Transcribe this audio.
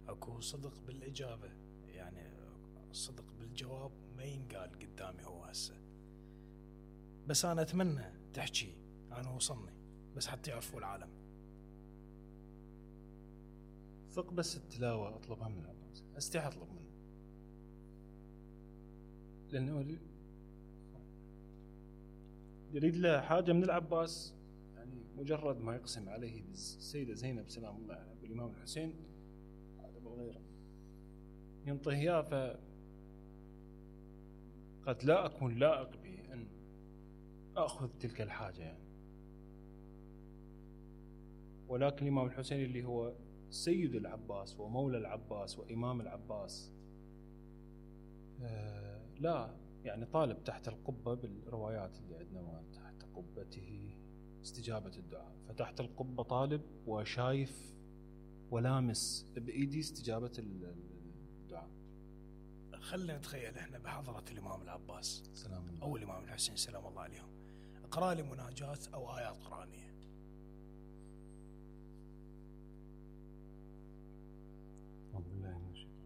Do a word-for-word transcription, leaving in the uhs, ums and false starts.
اكو صدق بالاجابة، يعني صدق بالجواب ما ينقال قدامي هو هسه. بس انا اتمنى تحكي انا وصلني، بس حتى يعرفوا العالم. ثق بس التلاوة اطلبها من العباس، استحي اطلب منه، لانه يريد له حاجة من العباس. يعني مجرد ما يقسم عليه السيدة زينب سلام الله عليها بالإمام الحسين هذا بالغيره ينطيه إياه، ف قد لا أكون لائق به أن أخذ تلك الحاجة يعني. ولكن الإمام الحسين اللي هو سيد العباس ومولى العباس وإمام العباس آه لا يعني طالب تحت القبة بالروايات اللي عندنا، تحت قبته استجابة الدعاء، فتحت القبة طالب وشايف ولامس بإيدي استجابة الدعاء. خلينا نتخيل احنا بحضرة الإمام العباس سلام الله أو الإمام الحسين سلام الله عليهم، اقرأ لي مناجات أو آيات قرآنية. أعوذ بالله من الشيطان